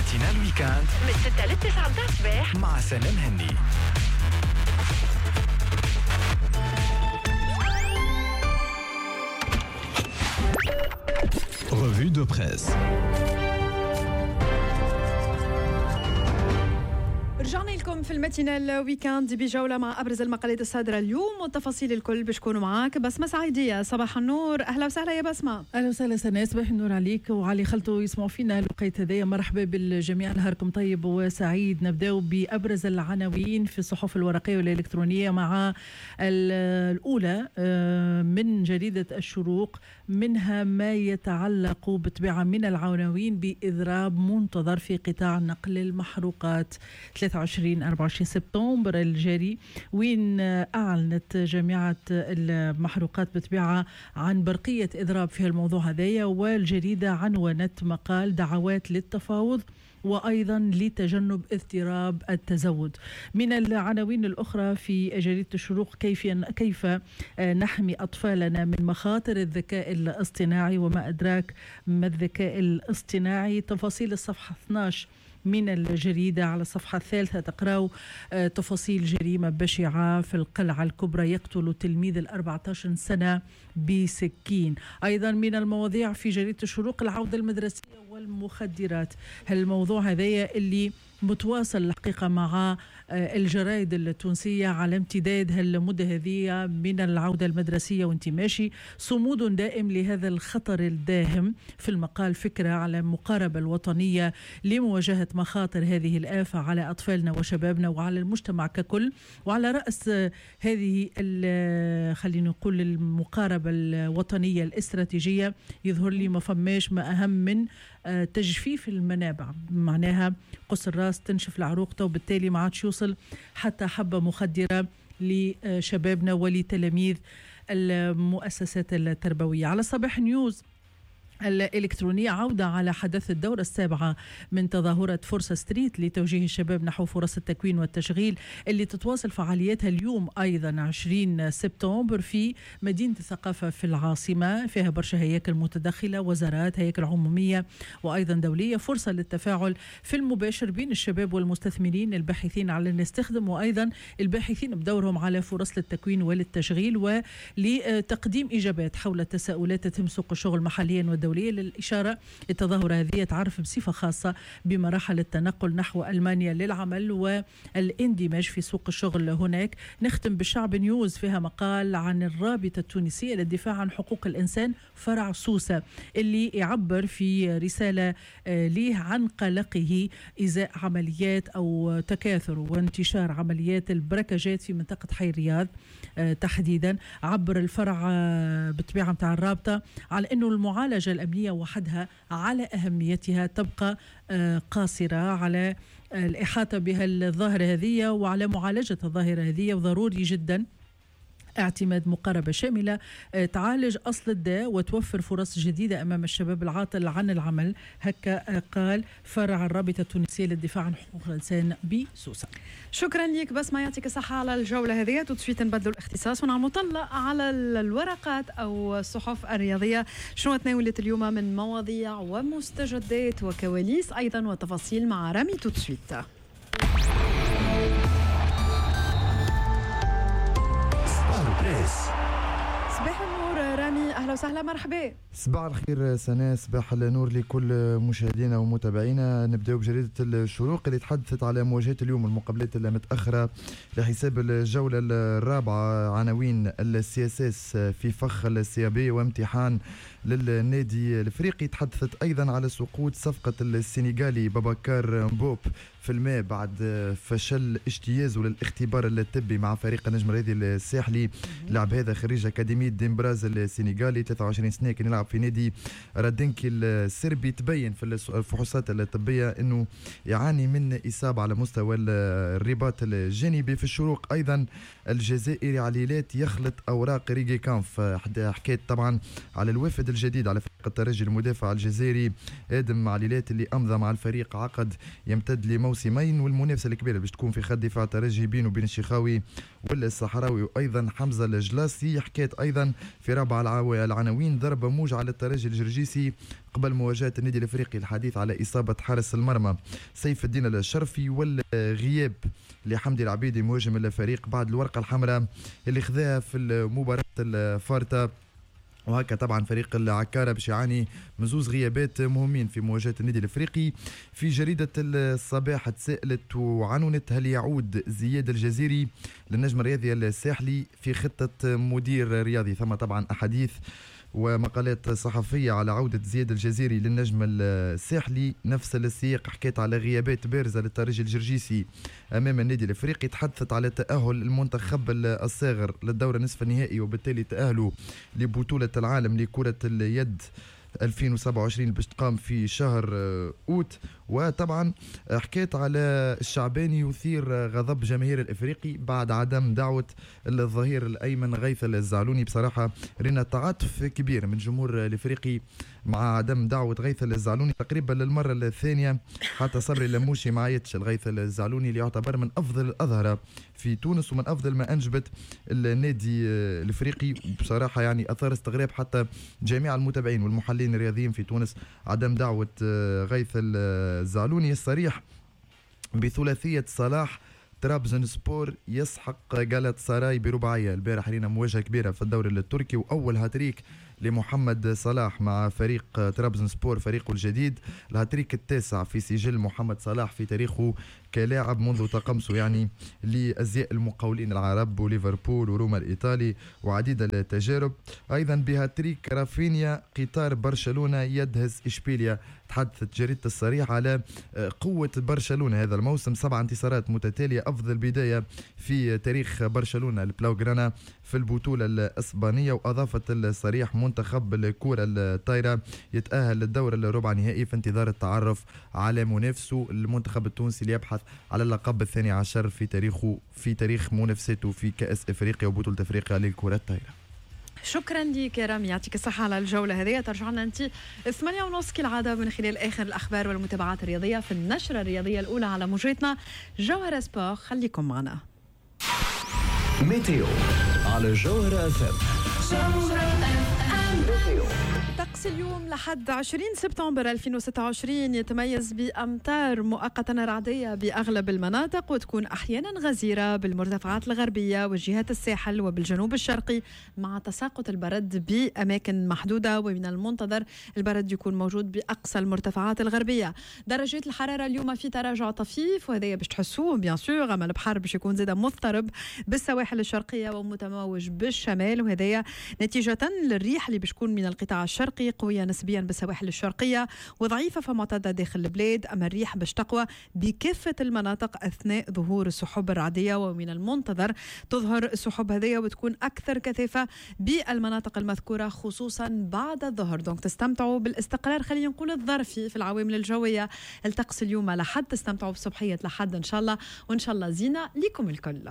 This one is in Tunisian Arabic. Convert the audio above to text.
matinale week-end من 6 ل 9 متاع الصباح مع سلام هني. Revue de presse. رجعنا لكم في ال matinale week-end بجولة مع أبرز المقالات الصادرة اليوم والتفاصيل الكل باش تكونوا معاك بسمة سعيدية. صباح النور، أهلا وسهلا يا بسمة. أهلا وسهلا سناء، صباح النور عليك وعلي خلطوا يسمعوا فينا الوقيت هذايا. مرحبا بالجميع، نهاركم طيب وسعيد. نبداو بأبرز العناوين في الصحف الورقية والإلكترونية مع الأولى من جريدة الشروق، منها ما يتعلق بطبيعة من العناوين بإضراب منتظر في قطاع نقل المحروقات 23-24 سبتمبر الجاري، وين أعلنت جامعة المحروقات بطبيعة عن برقية إضراب في الموضوع هذايا. والجريدة عنونت مقال دعوات للتفاوض وأيضا لتجنب اضطراب التزود. من العناوين الأخرى في جريدة الشروق كيف نحمي أطفالنا من مخاطر الذكاء الاصطناعي وما أدراك ما الذكاء الاصطناعي. تفاصيل الصفحة 12 من الجريدة. على الصفحة الثالثة تقرأوا تفاصيل جريمة بشعة في القلعة الكبرى، يقتل تلميذ 14 سنة بسكين. أيضا من المواضيع في جريدة الشروق العودة المدرسية والمخدرات. هالموضوع هذايا اللي متواصل الحقيقة مع الجرائد التونسية على امتداد هالمدة هذه من العودة المدرسية وانت ماشي، صمود دائم لهذا الخطر الداهم. في المقال فكرة على المقاربة الوطنية لمواجهة مخاطر هذه الآفة على أطفالنا وشبابنا وعلى المجتمع ككل، وعلى رأس هذه خلينا نقول المقاربة الوطنية الاستراتيجية يظهر لي ما فماش ما أهم من تجفيف المنابع، معناها قص الراس تنشف العروق، وبالتالي ما عادش يوصل حتى حبة مخدرة لشبابنا ولتلاميذ المؤسسات التربوية. على صباح نيوز الإلكترونية عودة على حدث الدورة السابعة من تظاهرة فرصة ستريت لتوجيه الشباب نحو فرص التكوين والتشغيل اللي تتواصل فعالياتها اليوم أيضا 20 سبتمبر في مدينة الثقافة في العاصمة. فيها برشا هياكل متدخلة، وزارات، هياكل عمومية وأيضا دولية. فرصة للتفاعل في المباشر بين الشباب والمستثمرين الباحثين على أن يستخدموا وأيضا الباحثين بدورهم على فرص للتكوين وللتشغيل ولتقديم إجابات حول تساؤلات تهم سوق الشغل محليا والدوليا. للإشارة التظاهرة هذه تعرف بصفة خاصة بمراحل التنقل نحو ألمانيا للعمل والاندماج في سوق الشغل هناك. نختم بالشعب نيوز، فيها مقال عن الرابطة التونسية للدفاع عن حقوق الإنسان فرع سوسة اللي يعبر في رسالة ليه عن قلقه إزاء عمليات أو تكاثر وانتشار عمليات البركجات في منطقة حي الرياض تحديدا. عبر الفرع بالطبيعة متاع الرابطة على أنه المعالجة الأمنية وحدها على أهميتها تبقى قاصرة على الإحاطة بها الظاهرة هذه وعلى معالجة الظاهرة هذه، وضروري جدا اعتماد مقاربة شاملة تعالج أصل الداء وتوفر فرص جديدة أمام الشباب العاطل عن العمل. هكا قال فرع الرابطة التونسية للدفاع عن حقوق الإنسان بسوسة. شكرا لك بسمة، يعطيك الصحة على الجولة هذه. tout de suite نبدلوا الاختصاص ونعملوا طلة على الورقات أو الصحف الرياضية، شنو تناولت اليوم من مواضيع ومستجدات وكواليس أيضا وتفاصيل مع رامي tout de suite. صباح النور رامي، أهلا وسهلا، مرحبا. صباح الخير سناء، صباح النور لكل مشاهدينا ومتابعينا. نبداو بجريدة الشروق اللي تحدثت على مواجهة اليوم المقابلات المتأخرة لحساب الجولة الرابعة. عناوين ال CSS في فخ ال CAB وامتحان للنادي الافريقي. تحدثت ايضا على سقوط صفقة السنغالي باباكار مبوب في الماء بعد فشل اجتيازه للاختبار الطبي مع فريق النجم الرياضي الساحلي. لعب هذا خريج اكاديمية ديمبراز السنغالي، 23 سنة، كان يلعب في نادي رادنكي السربي. تبين في الفحوصات الطبية انه يعاني من اصابه على مستوى الرباط الجانبي. في الشروق ايضا الجزائري عليلات يخلط اوراق ريجي كامف. حكيت طبعا على الوافد الجديد على فريق الترجي المدافع الجزائري ادم عليلات اللي امضى مع الفريق عقد يمتد لموسمين، والمنافسه الكبيرة باش تكون في خط دفاع الترجي بينه وبين الشيخاوي ولا الصحراوي وايضا حمزة الجلاسي. حكيت ايضا في رابع العناوين ضربه موجعة للترجي الجرجيسي قبل مواجهة النادي الافريقي، الحديث على اصابه حارس المرمى سيف الدين الشرفي والغياب لحمدي العبيدي مهاجم الفريق بعد الورقة الحمراء اللي خذاها في المباراة الفارطه. وهكا طبعا فريق العكاره باش يعاني من زوز غيابات مهمين في مواجهة النادي الافريقي. في جريدة الصباح تساءلت وعنونت هل يعود زياد الجزيري للنجم الرياضي الساحلي في خطه مدير رياضي؟ ثم طبعا احاديث ومقالات صحفية على عودة زياد الجزيري للنجم الساحلي. نفس السياق حكيت على غيابات بارزة للترجي الجرجيسي أمام النادي الإفريقي، تحدثت على تأهل المنتخب الصاغر للدور نصف النهائي وبالتالي تأهله لبطولة العالم لكرة اليد 2027 باش تقام في شهر أوت. وطبعا حكيت على الشعباني يثير غضب جماهير الافريقي بعد عدم دعوه الظهير الايمن غيث الزعلوني. بصراحة رينا تعاطف كبير من جمهور الافريقي مع عدم دعوه غيث الزعلوني تقريبا للمرة الثانية. حتى صبري لموشي ما عيطش الغيث الزعلوني اللي يعتبر من افضل الاظهرة في تونس ومن افضل ما انجبت النادي الافريقي. بصراحة يعني اثار استغراب حتى جميع المتابعين والمحللين الرياضيين في تونس عدم دعوه غيث الزعلوني. الصريح بثلاثية صلاح ترابزون سبور يسحق جالات سراي برباعية. البارح رينا مواجهة كبيرة في الدوري التركي وأول هاتريك لمحمد صلاح مع فريق ترابزون سبور فريقه الجديد، الهاتريك التاسع في سجل محمد صلاح في تاريخه كلاعب منذ تقمصه يعني لأزياء المقاولين العرب وليفربول وروما الإيطالي وعديد التجارب. أيضا بهاتريك رافينيا قطار برشلونة يدهس إشبيليا. تحدثت جريدة الصريح على قوة برشلونة هذا الموسم، 7 انتصارات متتالية، أفضل بداية في تاريخ برشلونة البلاوغرانا في البطولة الإسبانية. وأضافت الصريح منتخب الكرة الطايرة يتأهل للدور الربع نهائي في انتظار التعرف على منافسه المنتخب التونسي اللي يبحث على اللقب 12 في تاريخه في تاريخ منافسته في كأس إفريقيا وبطولة إفريقيا للكرة الطايرة. شكرا لك يا رامي، يعطيك الصحة على الجولة هذه. ترجع لنا أنت 8:30 كالعادة من خلال آخر الأخبار والمتابعات الرياضية في النشرة الرياضية الأولى على موجتنا جوهرة سبور. خليكم معنا. météo على جوهرة FM. طقس اليوم لحد 20 سبتمبر 2026 يتميز بأمطار مؤقتة رعدية بأغلب المناطق، وتكون أحيانا غزيرة بالمرتفعات الغربية وجهات الساحل وبالجنوب الشرقي، مع تساقط البرد بأماكن محدودة، ومن المنتظر البرد يكون موجود بأقصى المرتفعات الغربية. درجات الحرارة اليوم في تراجع طفيف، وهذا باش تحسوه bien sûr، أما البحر باش يكون زاد مضطرب بالسواحل الشرقية ومتموج بالشمال، وهذا نتيجة للريح اللي باش تكون من القطاع الشرقي قوية نسبيا بالسواحل الشرقية وضعيفة فمعتدة داخل البلاد. أما الريح باش تقوى بكافة المناطق أثناء ظهور السحب الرعدية، ومن المنتظر تظهر السحب هذه وتكون أكثر كثافة بالمناطق المذكورة خصوصا بعد الظهر. donc تستمتعوا بالاستقرار خلينا نقول الظرفي في العوامل الجوية. الطقس اليوم لحد تستمتعوا بصبحية لحد إن شاء الله، وإن شاء الله زينة لكم الكل.